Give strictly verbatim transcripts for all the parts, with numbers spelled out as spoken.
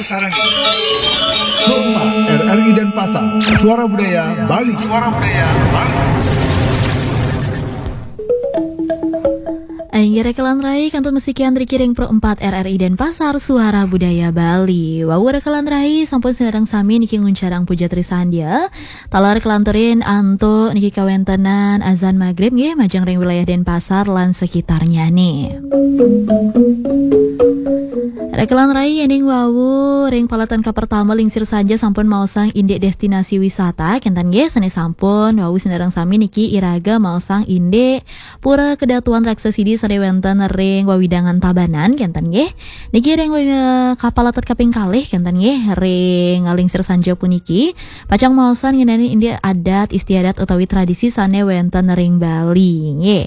Sarang. Pro empat R R I Denpasar, Suara Budaya Bali. Suara Budaya Bali. Inggih rekelan rai, kantun masikian riki ring Pro empat R R I Denpasar, Suara Budaya Bali. Wau rekelan rai, sampun sinareng sami niki nguncarang puja trisandya. Taler kelanturin antuk niki kawentenan azan magrib nggih, majeng ring wilayah Denpasar lan sekitarnyane. Rekelan rai, yening wau ring paletan kapertama lingsir sanja sampun maosang indik destinasi wisata, kenten nggih, sane sampun wau sinareng sami niki iraga maosang indik Pura Kedatuan Raksasidi sane wenten ring wewidangan Tabanan, kenten nggih. Niki ring, eh, kapaletan kaping kalih, kenten nggih, ring lingsir sanja puniki pacang maosang ngenenin indik adat istiadat utawi tradisi sane wenten ring Bali nggih.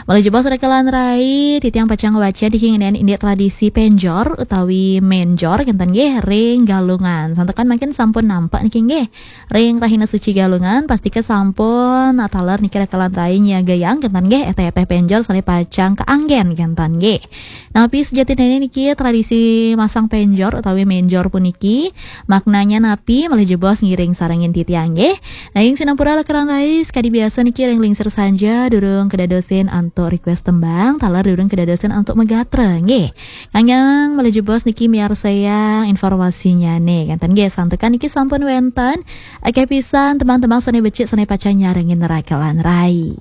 Malih jebos rekelan rai, titiang pacang waca niki ngenenin indik tradisi penjor utawi menjor, kenten nggih, ring Galungan. Santukan mangkin sampun nampak niki nggih ring rahina suci Galungan, pastika sampun taler niki rekelan rai nyiagayang, kenten nggih, eteh-eteh penjor sane pacang kaanggen, kenten nggih. Napi sejatine niki tradisi masang penjor utawi menjor puniki? Maknanya napi? Malih jebos ngiring sarengin titiang nggih. Nanging sinampura rekelan rai, sakadi biasa niki ring lingsir sanja durung kedadosin antuk request tembang, taler durung kedadosin antuk magatra nggih. Nanging malih jebos niki miarsayang informasinyane, kenten nggih, santukan niki sampun wenten akeh pisan tembang-tembang sane becik sane pacang nyarengin rekelan rai.